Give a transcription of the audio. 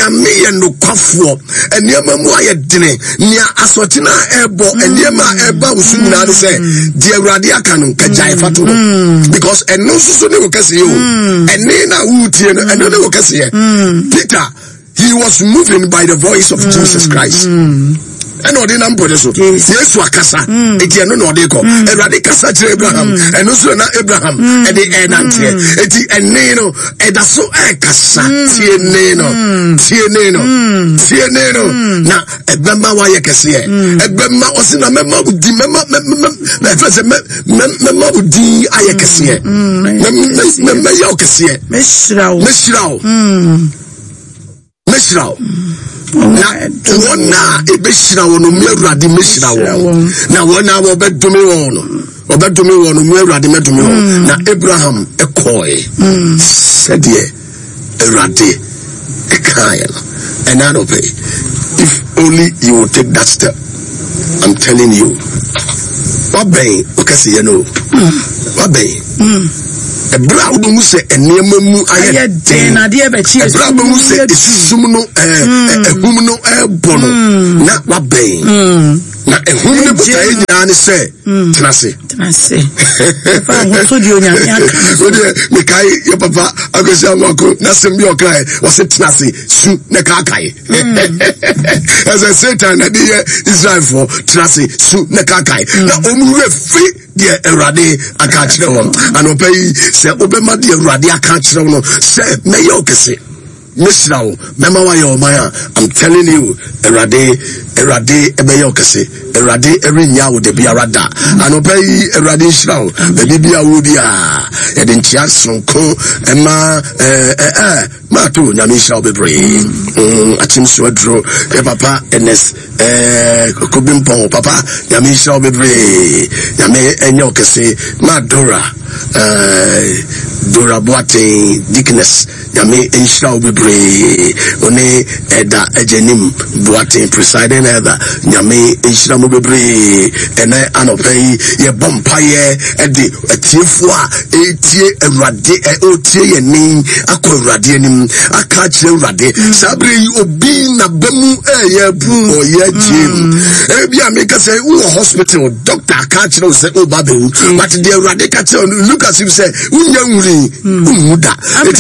Nyame yɛ nokwafoɔ. Nneɛma mu ayɛ dene. Nea asɔkye no a ɛrebɔ, nneɛma a ɛreba wo so nyinaa ne sɛ, deɛ Awurade aka no, nka gyae fa to hɔ. Because ɛno nso so ne wo kɛseyɛ o. Ɛne na woretie no, ɛno ne wo kɛseyɛ. Peter, he was moving by the voice of Jesus Christ. Ɛna ɔde nam pɔne so. Yesu akasa, eti ɛno na ɔde kɔ. Awurade kasa kyerɛ Abraham, ɛno nso na Abraham ɛde ɛnanteɛ. Eti ɛne no ɛda so ɛkasa. Tie ne no, tie ne no, tie ne no. Na ɛbɛma wayɛ kɛseɛ. Ɛbɛma ɔsi na mɛma wo di mɛma mɛma ɛfɛ sɛ mɛ mɛma wo din ayɛ kɛseɛ. Mɛyɛ wo kɛseɛ. Mɛhyira wo. Mɛhyira wo. Mɛhyira wo. Na wɔn a ɛbɛhyira wɔn no, me Awurade mɛhyira wɔn. Na wɔn a wɔbɛdome wɔn no, wɔbɛdome wɔn no, me Awurade mɛdome wɔn. Na Abraham kɔe sɛdeɛ Awurade ɛkaeɛ no. Ɛna anɔpɛ, if only you will take that step, I'm telling you, wabɛn ɔkɛseyɛ no, wabɛn. Ɛberɛ a wobɛhu sɛ nneɛma mu ayɛ den, ɛberɛ a wobɛhu sɛ esum no ɛhum no ɛrebɔ no, na wabɛn. Na ehum no botaeɛ nyinaa ne sɛ tena ase. Wodeɛ mekae yɛ papa Akwasi Amoako n'asɛm bi a ɔkae, ɔse tena ase su na kaakae. Ɛsɛ Satan na de yɛ Israelfoɔ, tena ase su na kaakae. Na wɔn werɛ fi deɛ Awurade aka akyerɛ wɔn. Anɔpa yi, sɛ wobɛma deɛ Awurade aka akyerɛ wo no sɛ mɛyɛ wo kɛse, mɛhyira wo, mɛma woayɛ ɔman a, I'm telling you, Awurade, Awurade ɛbɛyɛ wo kɛse. Awurade ɛrennya wo da biara da. Anɔpa yi, Awurade nhyira wo. Baabi bi a wowɔ biara, yɛde nkyea sononko ɛma ɛɛ ɛɛ maato. Nyame nhyira wo bebree. Akyem so aduro, yɛ papa Ernest Kobi Mpɔn, papa Nyame nhyira wo bebree. Nyame ɛnyɛ wo kɛse. Ma Dora, Dora Boateng, Deaconess, Nyame nhyira wo bebree. One Ɛda Agyanim Boateng, presiding elder, Nyame nhyira mo bebree. Ɛnɛ anɔpa yi yɛbɔ mpaeɛ ɛde atiefoɔ a ɛretie Awurade, ɔretie yɛn nne akɔ Awurade anim aka akyerɛ Awurade. Saa berɛ yi obi n'aba mu ɛyɛ abu, ɔyɛ agyee mu. Ebi a meka sɛ wowɔ hospital, doctor aka akyerɛ wo sɛ woba bɛwu, but deɛ Awurade ka kyerɛ wo no, look as if sɛ wonya nwuri, wonwu da.